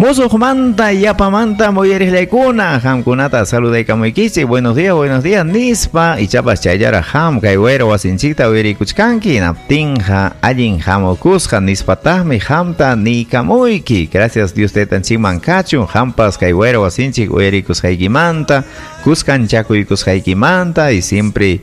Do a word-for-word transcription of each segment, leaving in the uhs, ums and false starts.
Musuqmanta yapamanta muyariqlaykuna qamkunata saludaykamuykichik. Buenos días, buenos días nispa ichapas chayllaraq qam kay wayra wasinchikta uyarikuchkanki hinaptinqa allin hamukusqa nispataqmi qamta niykamuyki. Gracias Dios taytanchikman kachun qampas kay wayra wasinchik uyarikusqaykimanta, kuskanchakuykusqaykimanta y siempre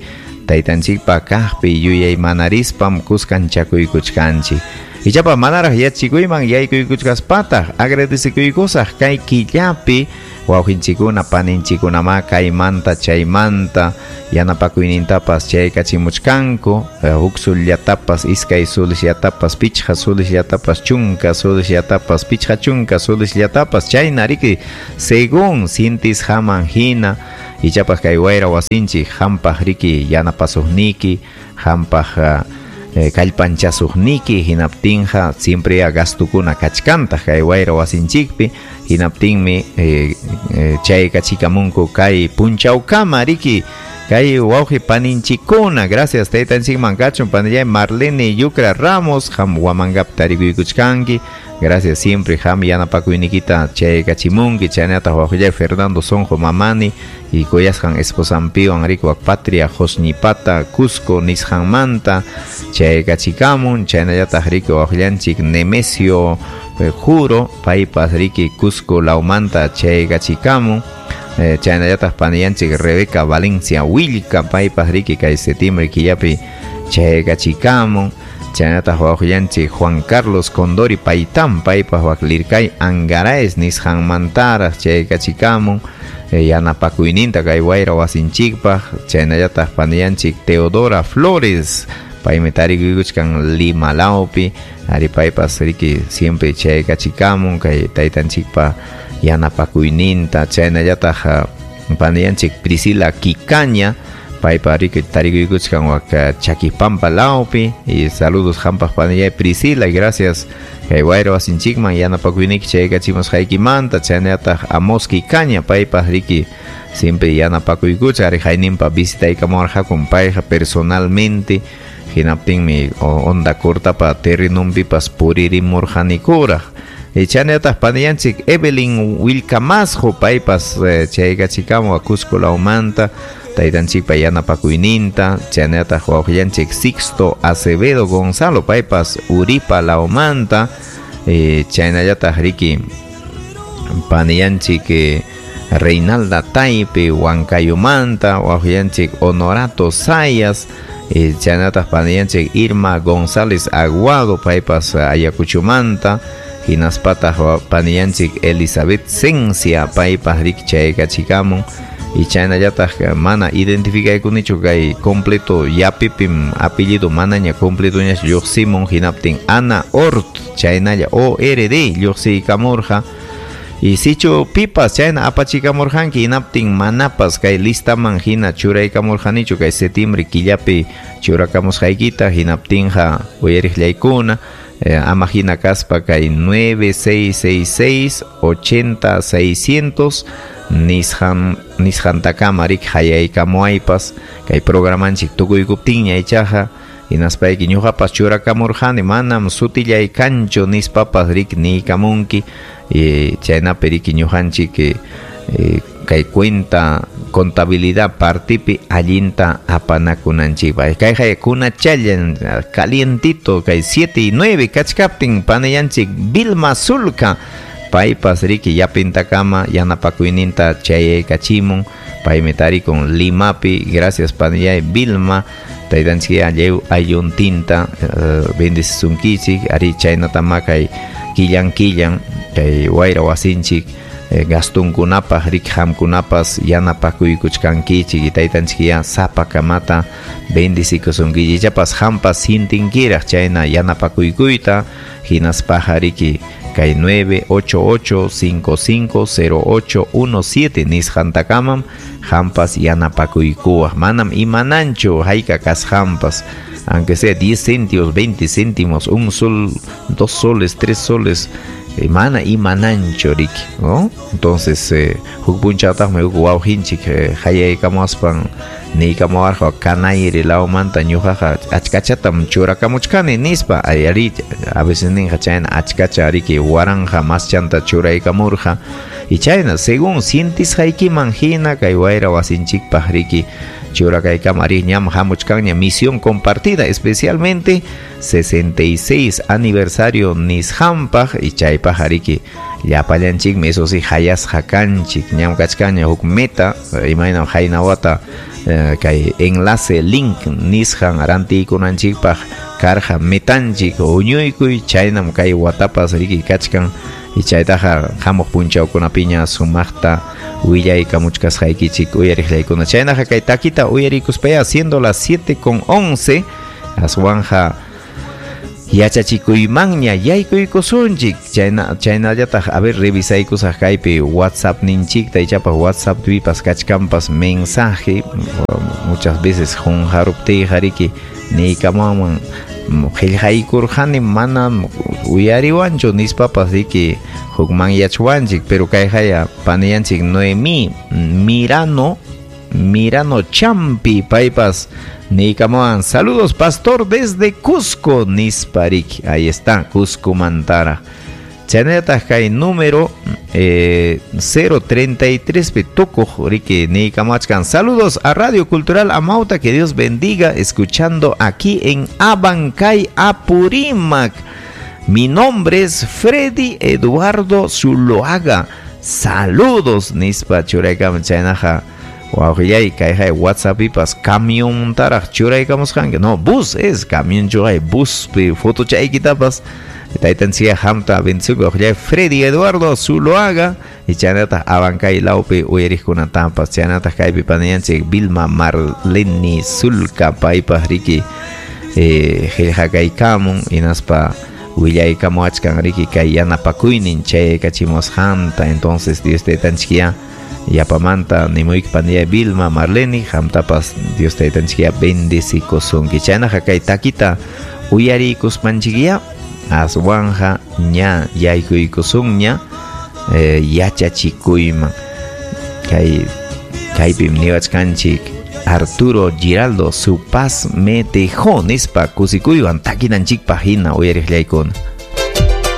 taytanchikpa kaqpi yuyaymanaриspam kuskanchakuykuchkanchik. Ichapa manaraq yachikuyman yaykuykuchkaspataq agradecekuykusaq kay killapi wawqinchikuna paninchikunama kaymanta chaymanta yanapakuynintapas chaykachimuchkanku, huk sullatapas iskay sulisllatapas pichqa sulisllatapas chunka sulisllatapas pichqa chunka sulisllatapas chayna riki según sintisqaman hina. Ichapas kay wayra wasinchik hampaq riki yanapasuqniki hampaq Eh, kallpanchasuqniki hinaptinqa siempre a gastukuna kachkantaq kay wayra wasinchikpi hinaptinmi eh, eh, chaykachikamunku kay punchawkama riki kay wawqi paninchikuna. Gracias taytanchikman kachun panillay Marlene Yucra Ramos ham Huamangapi tarikuykuchkanki. Gracias siempre ham yanapakuynikita chaykachimunki. Chaynataq wawqillay Fernando Sonjo Mamani y kuyasqan esposanpiwan riki wak Patria Josnipata Cusco nisqanmanta chaykachikamun. Chaynallataq riki wawqillanchik Nemesio eh, Juro paypas riki Cusco lawmanta chaykachikamun. Eh, chaynallataq panillanchik Rebeca Valencia Willka paypas riki kay septiembre killapi chaykachikamun. Chaynataq wawqillanchik Juan Carlos Condori Paytán paypas wak Lircay Angaraes nisqanmantaraq chaykachikamun. Eh, yanapakuyninta kay wayra wasinchikpaq. Chaynallataq panillanchik Teodora Flores paymi tarikuykuchkan Lima lawpi ari paypas riki siempre chaykachikamun kay taytanchikpa yanapakuyninta. Chaynallataq panillanchik Priscila Kikaña paypa riki tarikuykuchkan wak Chaquipampa lawpi y saludos hampaq panillay Priscila y gracias kay wayra wasinchikman yanapakuyniki chaykachimusqaykimanta. Chaynallataq Amos Kikaña paypas riki siempre yanapakuykucha ari hayninpa visitaykamuwarqakun payqa personalmente hinaptinmi onda cortapa terrenunpipas puririmurqanikuraq. Chaynallataq panillanchik Evelyn Wilcamasjo paypas chaykachikamu Cusco lawmanta taytanchikpa yanapakuyninta. Chaynallataq wawqillanchik Sixto Acevedo Gonzalo paypas Uripa lawmanta. eh, chaynallataq riki panillanchik eh, Reinalda Taipe Huancayomanta wawqillanchik Honorato Sayas. eh, chaynallataq panillanchik Irma González Aguado paypas Ayacuchomanta. Hinaspataq panillanchik Elizabeth Cencia paypas riki chaykachikamun. Y chaynallataq mana identificaykunichu kay completo yapipim apellido manaña completoñachu lluqsimun hinaptin Ana Ort chaynalla O R D lluqsiykamurqa. Y sichu pipas chayna apachikamurqanki hinaptin manapas kay listaman hina churaykamurqanichu kay septiembre killapi churakamusqaykita hinaptinqa uyariqllaykuna. Eh, ama hina kaspa kay nueve seis seis seis ochenta seiscientos nisqan nisqantakama riki hayaykamuaypas kay programanchik tukuykuptinña ichaqa hinaspayki ñuqapas churakamurqani manam sutillay kanchu nispapas riki niykamunki. Eh, chaynapi riki ñuqanchik eh, kay cuenta contabilidad partipi allinta apanakunanchikpaq. Kayqa kunachallan calientito kay siete y nueve kachkaptin panillanchik Vilma Sulca paypas riki yapintakama yanapakuyninta chayaykachimun paymi tarikun Limapi. Gracias panillay Vilma taytanchik lliw aylluntinta uh, bendecisunkichik ari chaynatama kay killan killan kay wayra wasinchik eh, gastunkunapaq riki qamkunapas yanapakuykuchkankichik y taytanchik ya sapakamata bendecikusunkichik. Ichapas qampas sintinkiraq chayna yanapakuykuyta hinaspaqa riki kay nueve ocho ocho cinco cinco cero ocho uno siete nisqantakamam qampas yanapakuykuwaq. Manam imananchu hayka kasqanpas aunque sea diez céntimos, veinte céntimos, un sol, dos soles, tres soles, eh, mana imananchu riki, ¿no? Entonces, eh, huk punchawtaqmi huk wawqinchik eh, hayaykamuaspan niykamuwarqa Canayri lawmanta ñuqaqa achkachatam churakamuchkani nispa ayari a veces ninqa chayna achkacha riki waranqa maschanta churaykamurqa y chayna según sientisqaykiman hina kay wayra wasinchikpaq riki churakaykama ari ñam hamuchkanña misión compartida especialmente sesenta y seis aniversario nisqanpaq y chaypaq ariki llapallanchikmi eso sí hayasqa kanchik ñam kachkanña huk meta imaynam hayna wata eh, kay enlace link nisqan rantiykunanchikpaq karqa metanchik huñuykuy chaynam kay watapas riki kachkan y chaytaqa hamuq punchawkunapiña sumaqta willaykamuchkasqaykichik uyariqllaykuna chaynaqa kay takita uyarikuspaya siendo las siete con once aswanja yachachikuymanña yaykuykusunchik chayna chaynallataq a ver revisaykusaq kaypi WhatsApp ninchikta ichapas WhatsApp pipas kachkanpas mensaje muchas veces qunqaruptiyqa riki niykamuwan qillqaykurqani mana uyariwanchu nispapas riki hukmanyachwanchik pero kayqaya paniyanchik Noemí Mirano Mirano Champi paypas niykamuwan saludos pastor desde Cusco nisparik ahí está Cusco mantara chaynallataq kay número eh, cero treinta y tres pi tukuq riki niykamuachkan saludos a Radio Cultural Amauta que Dios bendiga escuchando aquí en Abancay Apurímac. Mi nombre es Freddy Eduardo Zuloaga. Saludos nispa churaykamun chaynaqa wawqillay kayqay WhatsApp pipas camión taraq churaykamusqanki no bus es camión churay buspi fotochaykitapas taytanchikqa hamta bendiciku wawqillay Freddy Eduardo Zuloaga y chaynataq Abancay lawpi uyariqkunatampas chaynataq kaypi paniyanchik Vilma Marleni Sulca paypaq riki eh, qillqakaykamun hinaspa willaykamuachkan riki kay yanapakuynin chaykachimusqanta entonces Dios taytanchikya yapamanta nimuyki panilla Vilma Marleni hamtapas Dios taytanchikya bendecikusunki chaynaqa kay takita uyarikuspanchikya aswanja ña yaykuykusunña eh, yachachikuyman kay kaypim niwachkanchik Arturo Giraldo su paz me dejó nispa kusikuywan takinanchikpaq hina uyariqllaykuna.